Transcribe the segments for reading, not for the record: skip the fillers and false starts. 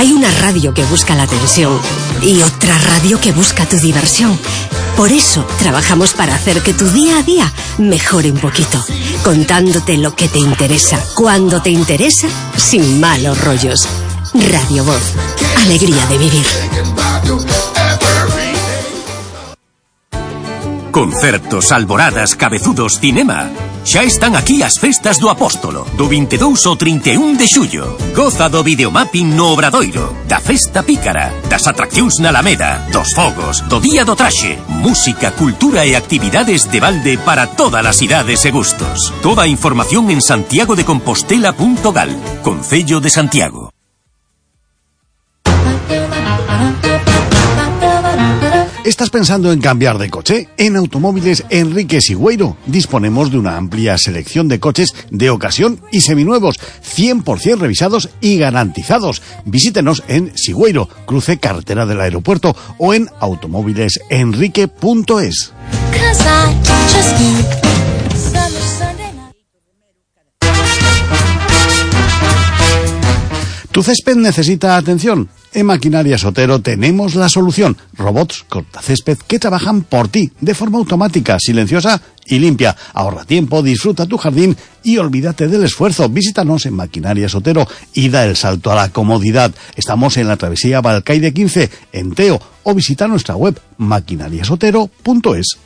Hay una radio que busca la atención y otra radio que busca tu diversión. Por eso trabajamos para hacer que tu día a día mejore un poquito, contándote lo que te interesa, cuando te interesa, sin malos rollos. Radio Voz, alegría de vivir. Concertos, alboradas, cabezudos, cinema. Xa están aquí as festas do Apóstolo, do 22 ao 31 de xullo. Goza do videomapping no Obradoiro, da festa pícara, das atraccións na Alameda, dos fogos, do día do traxe, música, cultura e actividades de balde para todas as idades e gustos. Toda a información en santiagodecompostela.gal, Concello de Santiago. ¿Estás pensando en cambiar de coche? En Automóviles Enrique Sigüeiro disponemos de una amplia selección de coches de ocasión y seminuevos, 100% revisados y garantizados. Visítenos en Sigüeiro, cruce carretera del aeropuerto, o en automóvilesenrique.es. ¿Tu césped necesita atención? En Maquinaria Sotero tenemos la solución. Robots cortacésped que trabajan por ti, de forma automática, silenciosa y limpia. Ahorra tiempo, disfruta tu jardín y olvídate del esfuerzo. Visítanos en Maquinaria Sotero y da el salto a la comodidad. Estamos en la travesía Balcaide 15, en Teo, o visita nuestra web maquinariasotero.es.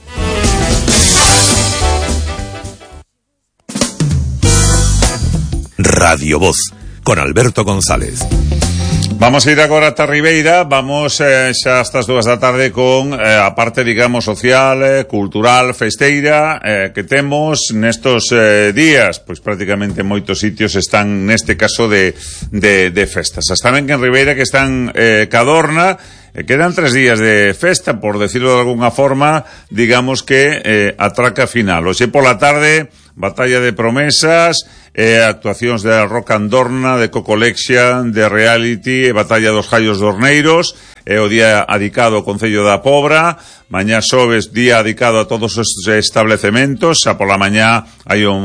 Radio Voz, con Alberto González. Vamos a ir agora ata Ribeira, vamos xa hasta as 2 da tarde con a parte, digamos, social, cultural, festeira que temos nestos días. Pois prácticamente moitos sitios están neste caso de festas. Hasta ben que en Ribeira que están Cadorna, quedan 3 días de festa, por decirlo de alguna forma, digamos que atraca final. Hoxe pola tarde, batalla de promesas, actuacións de Rock Andorna, de Cocolexia, de Reality, batalla dos Jaios Dorneiros, o día adicado ao Concello da Pobra. Mañá xoves, día adicado a todos os establecementos. Xa pola mañá hai o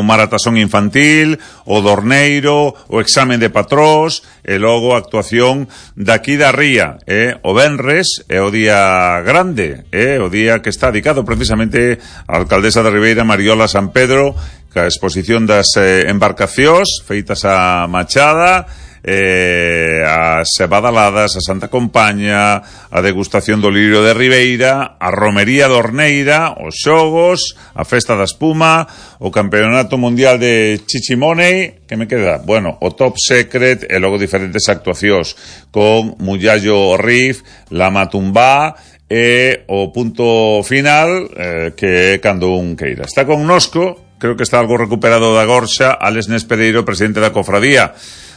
maratasón infantil, o Dorneiro, o examen de patrós, e logo a actuación daqui da Ría. O venres é o día grande, o día que está adicado precisamente a alcaldesa de Ribeira, Mariola San Pedro, a exposición das embarcacións feitas a Machada, as badaladas, a Santa Compaña, a degustación do Lirio de Ribeira, a Romería Dorneira, os xogos, a Festa da Espuma, o Campeonato Mundial de Chichimoney, que me queda? Bueno, o Top Secret, e logo diferentes actuacións con Mullallo Riff, La Matumbá, e o punto final, que é cando un queira. Está connosco, creo que está algo recuperado da gorxa, Álex Nespereiro, presidente da Cofradía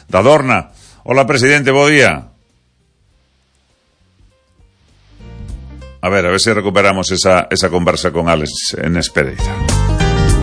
da Dorna. Hola, presidente, bo día. A ver se recuperamos esa conversa con Álex Nespereiro.